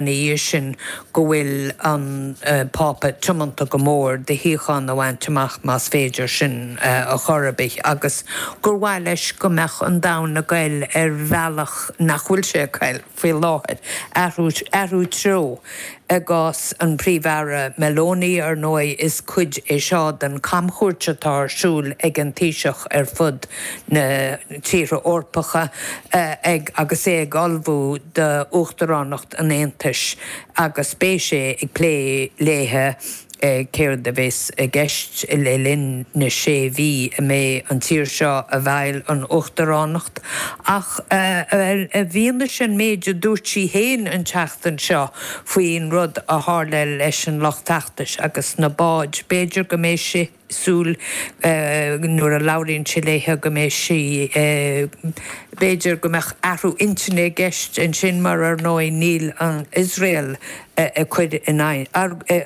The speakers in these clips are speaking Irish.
Ina dhiaidh sin go bhfuil an Pápa tiomanta go mór do shíocháin a bhaint amach más féidir sin a chor ar bith agus gur mhaith leis go mbeadh an domhan ag goil ar bhealach nach bhfuil sé ag goil faoi láthair, athrú, athrú treo. I gcás an Phríomh-Aire Meloni, ar ndóigh, is cuid é seo den chamchuairt atá ar siúl ag an Taoiseach ar fud na tíortha Eorpacha ag agus é ag ullmhú d'Uachtaránacht an Aontais agus beidh sé ag plé léithe céard a bheas i gceist le linn na sé mhí a mbeidh an tír seo i bhfeighil an Uachtaránacht. Ach i bhfianaise an méid a dúirt sí féin an tseachtain seo faoin rud a tharla leis an lucht feachtais agus na báid, b'fhéidir go mbeidh sí súil nuair a labhraíonn sé léithe go mbeidh sí, b'fhéidir go mbeadh athrú intinne i gceist ansin mar ar ndóigh níl an Iosrael ag cur in aghaidh,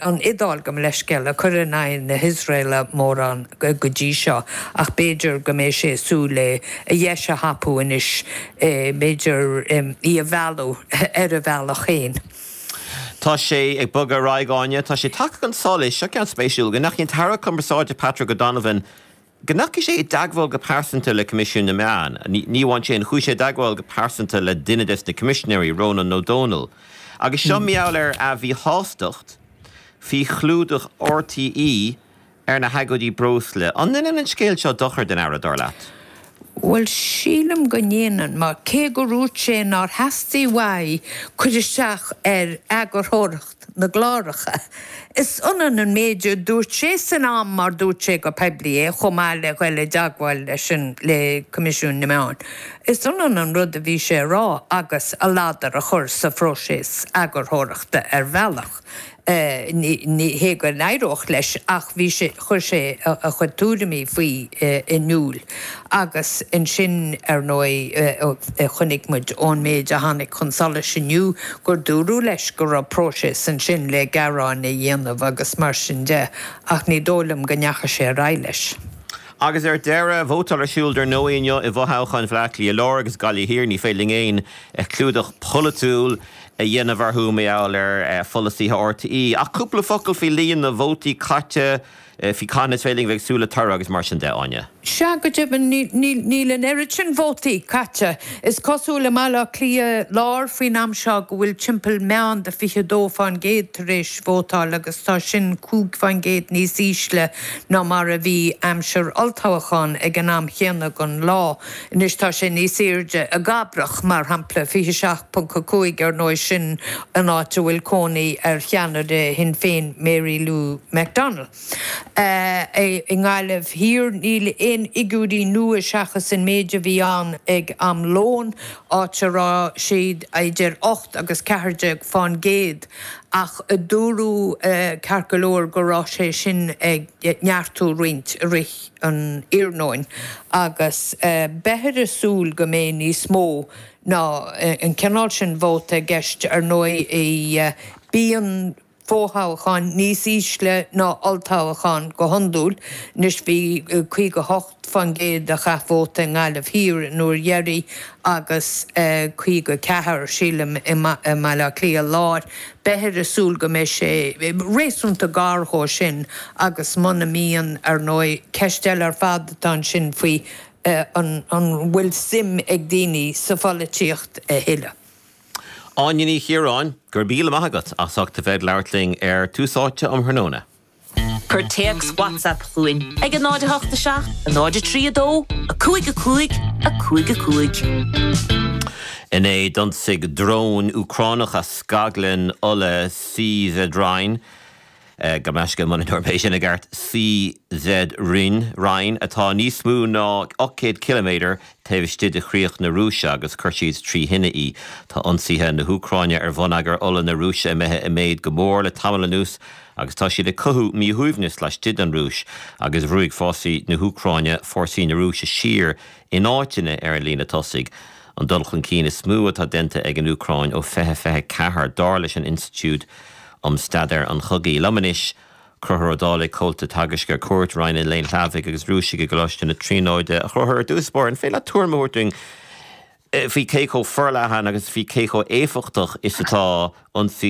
an Iodáil gabh mo leithscéal, ag cur in aghaidh na hIosraela mórán go dtí seo ach b'fhéidir go mbeidh sé ag súil le a dheis a thapú anois, b'fhéidir í a mhealladh ar a bhealach féin. Tá sé ag bogadh ar aghaidh, Áine. Tá sé tagtha chun solais, seo ceann spéisiúil, go ndeachaigh an tAire Cumarsáide Patrick O'Donovan, go ndeachaigh sé i dteagmháil go pearsanta le Coimisiún na Meán. Ní amháin sin, chuaigh sé i dteagmháil go pearsanta le duine des na Coimisinéirí, Rónán Ó Domhnaill. Agus seo mar gheall ar a mhíshástacht faoi chlúdach RTÉ ar na hagóidí breosla. An ndéanann an scéal seo dochar don Aire, dar leat? Bhuel, sílim go ndéanann, mar cé gur dhúirt sé nár theastaigh uaidh cur isteach ar eagarthóireacht na gcláracha, is ionann an méid a dúirt sé san am mar dúirt sé go poiblí é, chomh maith le dhul i dteagmháil leis an, le Coimisiún na Meán. Is ionann an rud a bhí sé a rá agus a ladar a chur sa phróiseas eagarthóireachta ar bhealach. Ní hé go n-éireodh leis ach bhí sé, chuir sé a chuid tuairimí faoi in iúl agus ansin, ar ndóigh, chonaic muid ón méid a tháinig chun solais inniu gur dúradh leis go raibh próiseas ansin le gearáin a dhéanamh agus mar sin de ach ní dóigh liom go ndeachaigh sé ar aghaidh leis. Agus ar deireadh, vótáil ar siúl dar ndóigh inniu i bhfothoghcháin Bhaile Átha Cliath Láir agus Gaillimh Thiar. Ní féidir linn aon chlúdach polaitiúil a dhéanamh orthu mar gheall ar pholasaithe RTÉ. Ach cúpla focal faoi líon na vótaí caite, faoi cathain is féidir linn a bheith ag súil le toradh agus mar sin de, Áine. Sea, go deimhin, níl an oiread sin vótaí caite. Is cosúil i mBaile Átha Cliath Láir faoin am seo go bhfuil timpeall meán de 22% tar éis vótáil agus tá sin 5% níos ísle ná mar a bhí aimsir olltoghcháin ag an am chéanna den lá. Anois tá sé níos airde i gCabrach, mar shampla, 27.5, ar ndóigh sin an áit a bhfuil cónaí ar cheannaire Shinn Féin Mary Lou McDonald. I nGaillimh Thiar níl aon fhigiúirí nua seachas an méid a bhí ann ag am lóin, áit a raibh siad idir 8 agus 14 fán gcéad ach dúradh ceart go leor go raibh sé sin ag neartú roinnt i rith an iarnóin agus beifear ag súil go mbeidh níos mó ná an cineál sin vóta i gceist. Ar ndóigh, bíonn fothoghcháin níos ísle ná olltoghcháin go hiondúil. Anois bhí 58% a chaith vóta i nGaillimh Thiar an uair dheiridh agus 54, sílim, i mBaile Átha Cliath Láir. Beifear ag súil go mbeidh sé réasúnta gar dhó sin agus muna mbíonn, ar ndóigh, ceist eile ar fad atá ansin faoi an bhfuil suim ag daoine sa pholaitíocht a thuilleadh. Áine Ní Chiaráin, go raibh míle maith agat as ucht a bheith ag labhairt linn ar Tús Áite um thráthnóna. Cuir téacs WhatsApp chugainn ag 0 8 7 0 3 2 5 5 5 5. Inné d'ionsaigh dróin Úcránacha scaglann ola CZ Rhine, gabh mo leithscéal muna ndúirt mé sin i gceart, CZ Rhine, Rhine, atá níos mó ná 800 ciliméadar taobh istigh de chríoch na Rúise agus chuir siad trí thine í. Tá ionsaithe na hÚcráine ar bhonneagar ola na Rúise imithe i méid go mór le tamall anuas agus tá siad ag cothú míshuaimhneas laistigh den Rúis agus bhrúigh fórsaí na hÚcráine fórsaí na Rúise siar in áiteanna ar an líne tosaigh, an dul chun cinn is mó atá déanta ag an Úcráin ó 2024, dar leis an Institiúid um Staidéar an Chogaidh. Liom anois, Conchúr Ó Dálaigh, Comhalta Teagaisc ar Cuairt, Roinn an Léinn Shlavaigh agus Rúisigh i gColáiste na Tríonóide. A Chonchúir, ar dtús báire, an féidir leat tuairim a thabhairt dúinn? faoi cé chomh forleathan agus faoi cé chomh éifeachtach is atá ionsaí.